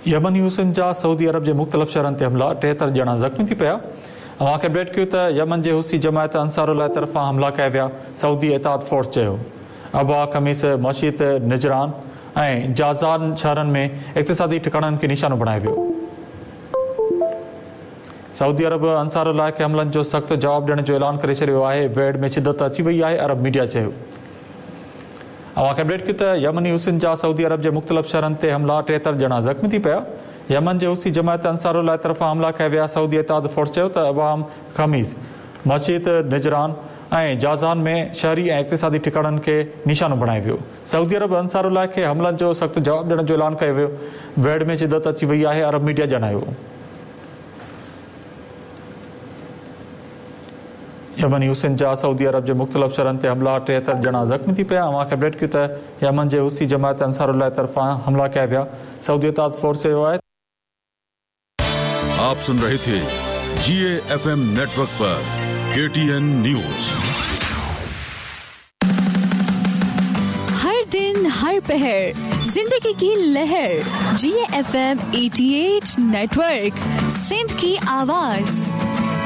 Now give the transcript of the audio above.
يمني حوثين جا سعودي عرب جي مختلف شهرن تي حملا، 73 ڄڻا زخمي ٿي پيا. اوهان کي اپڊيٽ ڪيون ته يمن جي حوثي جماعت انصار الله طرفان حملا ڪيا ويا، سعودي اتحاد فورس چيو. ابها، خميس مشيط، نجران ۽ جازان شهرن ۾ اقتصادي ٺڪاڻن کي نشانو بڻايو ويو. سعودي عرب انصار الله کي حملن جو سخت جواب ڏيڻ جو اعلان ڪري ڇڏيو آهي، ويڙهه ۾ شدت اچي وئي آهي، عرب ميڊيا چيو. اوهان کي اپڊيٽ ڪيون ته يمني حوثين جا سعودي عرب جي مختلف شهرن تي حملا، 73 ڄڻا زخمي ٿي پيا. يمن جي حوثي جماعت انصار الله طرفان حملا ڪيا ويا. سعودي اتحاد فورس چيو ته ابها، خميس، مشيط، نجران ۽ جازان ۾ شهري ۽ اقتصادي ٺڪاڻن کي نشانو بڻايو ويو. سعودي عرب انصار الله کي حملن جو سخت جواب ڏيڻ جو اعلان ڪيو ويو. ويڙهه ۾ شدت اچي وئي آهي، عرب ميڊيا ڄاڻايو. يمني حوثين جا سعودي عرب جي مختلف شهرن تي حملا، 73 ڄڻا زخمي ٿي پيا. اوهان کي اپڊيٽ ڪيون ته يمن جي حوثي جماعت انصار الله طرفان حملا ڪيا ويا. سعودي اتحاد فورس چيو آهي. آپ سن رهي ٿي G A F M network پر ڪي ٽي اين نيوز. هر دن هر پهر زندگي ڪي لهر G F M 88 network Sindh ڪي آواز.